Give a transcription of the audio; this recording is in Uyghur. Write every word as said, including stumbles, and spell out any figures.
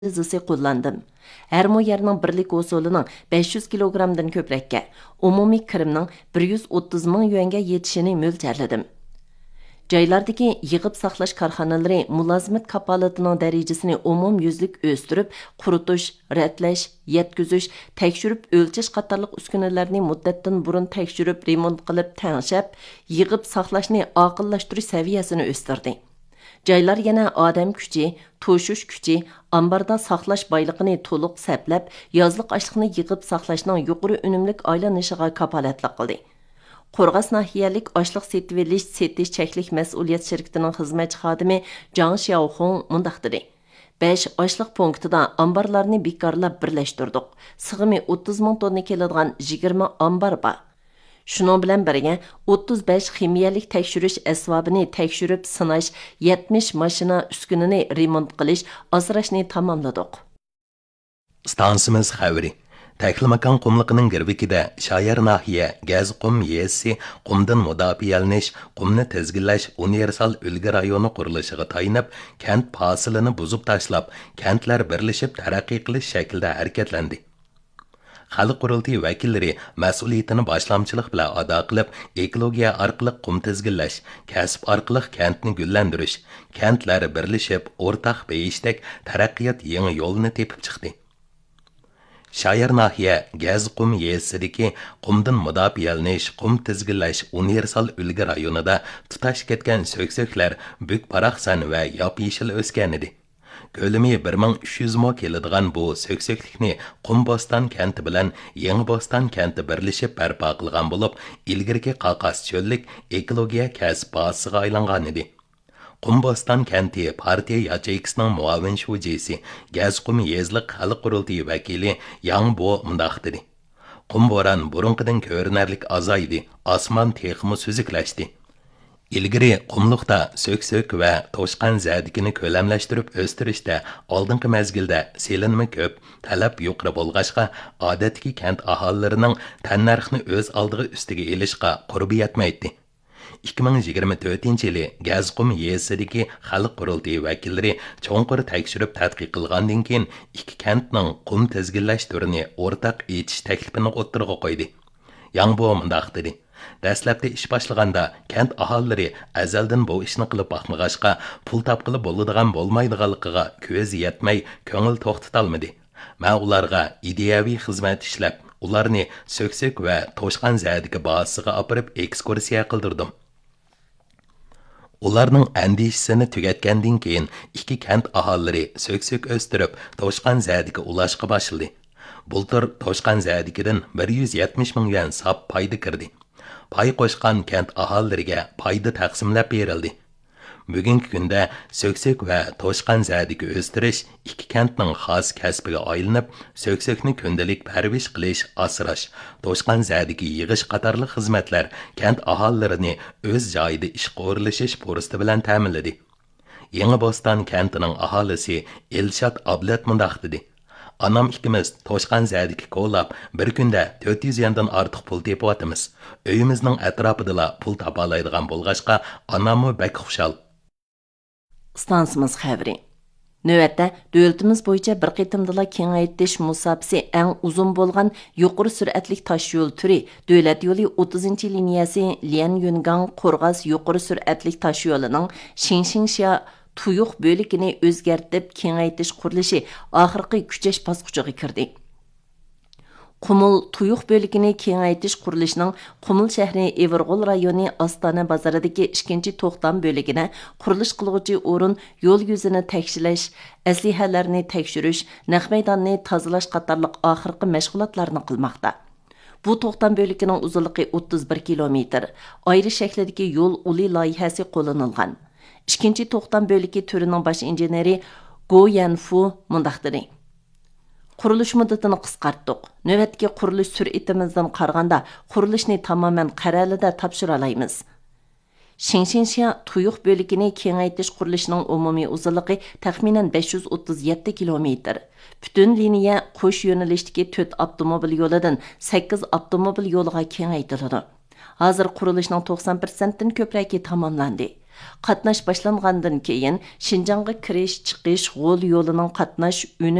ئاندىزىسى قوللاندىم. ھەر مو يەرنىڭ بىرلىك ھوسۇلىنىڭ بەش يۈز كىلوگرامدىن كۆپرەككە، ئومۇمىي كىرىمنىڭ بىر يۈز ئوتتۇز مىڭ يۈەنگە يېتىشىنى مۆلچەرلىدىم. جايلاردىكى يىغىپ ساقلاش كارخانىلىرى مۇلازىمەت كاپالىتىنىڭ دەرىجىسىنى ئومۇميۈزلۈك ئۆستۈرۈپ، قۇرۇتۇش، رەتلەش، يەتكۈزۈش، تەكشۈرۈپ ئۆلچەش قاتارلىق ئۈسكۈنىلەرنى مۇددەتتىن بۇرۇن تەكشۈرۈپ، رېمونت قىلىپ تەڭشەپ، يىغىپ ساقلاشنى ئاقىللاشتۇرۇش سەۋىيەسىنى ئۆستۈردى. جايلار يەنە ئادەم كۈچى، توشۇش كۈچى، ئامباردا ساقلاش بايلىقىنى تولۇق سەپلەپ، يازلىق ئاشلىقنى يىغىپ ساقلاشنىڭ يۇقىرى ئۈنۈملۈك ئايلىنىشىغا كاپالەتلىك قىلدى. قورغاس ناھىيەلىك ئاشلىق سېتىۋېلىش، سېتىش چەكلىك مەسئۇلىيەت شىركىتىنىڭ خىزمەتچى خادىمى جاڭ شياۋخۇڭ مۇنداق دېدى: بەش ئاشلىق پونكىتىدا ئامبارلارنى بىكارلاپ بىرلەشتۈردۇق. سىغىمى ئوتتۇز مىڭ توننا كېلىدىغان يىگىرمە ئامبار بار. شۇنىڭ بىلەن بىرگە، ئوتتۇز بەش خىمىيەلىك تەكشۈرۈش ئەسۋابىنى تەكشۈرۈپ سىناش، يەتمىش ماشىنا ئۈسكۈنىنى رېمونت قىلىش، ئاسراشنى تاماملىدۇق. ئىستانسىمىز خەۋىرى. تەكلىماكان قۇملۇقىنىڭ گىرۋىكىدە شايار ناھىيە گەزقۇم يېزىسى قۇمدىن مۇداپىئەلىنىش، قۇمنى تىزگىنلەش ئۇنىۋېرسال ئۈلگە رايونى قۇرۇلۇشىغا تايىنىپ، كەنت پاسىلىنى بۇزۇپ تاشلاپ، كەنتلەر بىرلىشىپ تەرەققىي قىلىش شەكلىدە ھەرىكەتلەندى. خەلق قۇرۇلتىيى ۋەكىللىرى مەسئۇلىيىتىنى باشلامچىلىق بىلەن ئادا قىلىپ، ئېكولوگىيە ئارقىلىق قۇم تىزگىنلەش، كەسىپ ئارقىلىق كەنتنى گۈللەندۈرۈش، كەنتلەر بىرلىشىپ، ئورتاق بېيىشتەك تەرەققىيات يېڭى يولىنى تېپىپ چىقتى. شايار ناھىيە گەزقۇم يېزىسىدىكى قۇمدىن مۇداپىئەلىنىش، قۇم تىزگىنلەش ئۇنىۋېرسال ئۈلگە رايونىدا تۇتاش كەتكەن سۆكسۆكلەر بۈك-باراقسان ۋە ياپيېشىل ئۆسكەنىدى. كۆلىمى بىر مىڭ ئۈچ يۈز مو كېلىدىغان بۇ سۆكسۆكلۈكنى قۇم بوستان كەنتى بىلەن يېڭى بوستان كەنتى بىرلىشىپ بەرپا قىلغان بولۇپ، ئىلگىرىكى قاقاس چۆللۈك ئېكولوگىيە كەسىپ بازىسىغا ئايلانغانىدى. قۇم بوستان كەنتى پارتىيە ياچېيكىسىنىڭ مۇئاۋىن شۇجىسى گەزقۇم يېزىلىق خەلق قۇرۇلتىيى ۋەكىلى ياڭ بو مۇنداق دېدى: قۇم بوران بۇرۇنقىدىن كۆرۈنەرلىك ئازايدى، ئاسمان تېخىمۇ سۈزۈكلەشتى. ئىلگىرى قۇملۇقتا سۆكسۆك ۋە توشقان زەدىكىنى كۆلەملەشتۈرۈپ ئۆستۈرۈشتە ئالدىنقى مەزگىلدە سېلىنما كۆپ، تەلەپ يۇقىرى بولغاچقا، ئادەتتىكى كەنت ئاھالىلىرىنىڭ تەننەرخنى ئۆز ئالدىغا ئۈستىگە ئېلىشقا قۇربى يەتمەيتتى. ئىككى مىڭ يىگىرمە تۆتىنچى يىلى گەزقۇم يېزىسىدىكى خەلق قۇرۇلتىيى ۋەكىللىرى چوڭقۇر تەكشۈرۈپ تەتقىق قىلغاندىن كېيىن، ئىككى كەنتنىڭ قۇم تىزگىنلەش تۈرىنى ئورتاق ئېچىش تەكلىپىنى ئوتتۇرىغا قويدى. ياڭ بو مۇنداق دېدى: دەسلەپتە ئىش باشلىغاندا، كەنت ئاھالىلىرى ئەزەلدىن بۇ ئىشنى قىلىپ باقمىغاچقا، پۇل تاپقىلى بولىدىغان بولمايدىغانلىقىغا كۆزى يەتمەي، كۆڭۈل توختىتالمىدى. مەن ئۇلارغا ئىدىيەۋى خىزمەت ئىشلەپ، ئۇلارنى سۆكسۆك ۋە توشقان زەدىكى بازىسىغا ئاپىرىپ ئېكسكۇرسىيە قىلدۇردۇم. ئۇلارنىڭ ئەندىشىسىنى تۈگەتكەندىن كېيىن، ئىككى كەنت ئاھالىلىرى سۆكسۆك ئۆستۈرۈپ، توشقان زەدىكى ئۇلاشقا باشلىدى. بۇلتۇر توشقان زەدىكىدىن بىر يۈز يەتمىش مىڭ يۈەن ساپ پايدا كىردى. پاي قوشقان كەنت ئاھالىلىرىگە پايدا تەقسىملەپ بېرىلدى. بۈگۈنكى كۈندە سۆكسۆك ۋە توشقان زەدىكى ئۆستۈرۈش ئىككى كەنتنىڭ خاس كەسپىگە ئايلىنىپ، سۆكسۆكنى كۈندىلىك پەرۋىش قىلىش، ئاسراش، توشقان زەدىكى يىغىش قاتارلىق خىزمەتلەر كەنت ئاھالىلىرىنى ئۆز جايىدا ئىشقا ئورۇنلىشىش پۇرسىتى بىلەن تەمىنلىدى. يېڭى بوستان كەنتىنىڭ ئاھالىسى ئېلشات ئابلەت مۇنداق دېدى: ئانام ئىككىمىز توشقان زەدىكى كولاپ، بىر كۈندە تۆت يۈز يۈەندىن ئارتۇق پۇل تېپىۋاتىمىز. ئۆيىمىزنىڭ ئەتراپىدىلا پۇل تاپالايدىغان بولغاچقا، ئاناممۇ بەك خۇشال. ئىستانسىمىز خەۋىرى. نۆۋەتتە، دۆلىتىمىز بويىچە بىر قېتىمدىلا كېڭەيتىش مۇساپىسى ئەڭ ئۇزۇن بولغان يۇقىرى سۈرئەتلىك تاشيول تۈرى، دۆلەت يولى ئوتتۇزىنچى لىنىيەسى ليەنيۈنگاڭ قورغاس يۇقىرى سۈرئەتلىك تاشيولىنىڭ شىڭشىڭشيا تۇيۇق بۆلىكىنى ئۆزگەرتىپ كېڭەيتىش قۇرۇلۇشى ئاخىرقى كۈچەش باسقۇچىغا كىردى. قۇمۇل تۇيۇق بۆلىكىنى كېڭەيتىش قۇرۇلۇشىنىڭ قۇمۇل شەھىرى ئېۋىرغول رايونى ئاستانە بازىرىدىكى ئىككىنچى توختام بۆلىكىدە قۇرۇلۇش قىلغۇچى ئورۇن يول يۈزىنى تەكشىلەش، ئەسلىھەلەرنى تەكشۈرۈش، نەق مەيداننى تازىلاش قاتارلىق ئاخىرقى مەشغۇلاتلارنى قىلماقتا. بۇ توختام بۆلىكىنىڭ ئۇزۇنلۇقى ئوتتۇز بىر كىلومېتىر، ئايرى شەكلىدىكى يول ئۇلى لايىھەسى قوللىنىلغان. ئىككىنچى توختام بۆلىكى تۈرىنىڭ باش ئىنژېنېرى گو يەنفۇ مۇنداق دېدى: قۇرۇلۇش مۇددىتىنى قىسقارتتۇق. نۆۋەتتىكى قۇرۇلۇش سۈرئىتىمىزدىن قارىغاندا، قۇرۇلۇشنى تامامەن قەرەلىدە تاپشۇرالايمىز. شىڭشىنشيا تۇيۇق بۆلىكىنى كېڭەيتىش قۇرۇلۇشىنىڭ ئومۇمىي ئۇزۇنلۇقى تەخمىنەن بەش يۈز ئوتتۇز يەتتە كىلومېتىر. پۈتۈن لىنىيە قوش يۆنىلىشتىكى تۆت ئاپتوموبىل يولىدىن سەككىز ئاپتوموبىل يولىغا كېڭەيتىلىدۇ. ھازىر قۇرۇلۇشنىڭ توقسان پىرسەنتتىن كۆپرەكى تاماملاندى. قاتناش باشلانغاندىن كېيىن، شىنجاڭغا كىرىش، چىقىش، غول يولىنىڭ قاتناش ئۈنۈم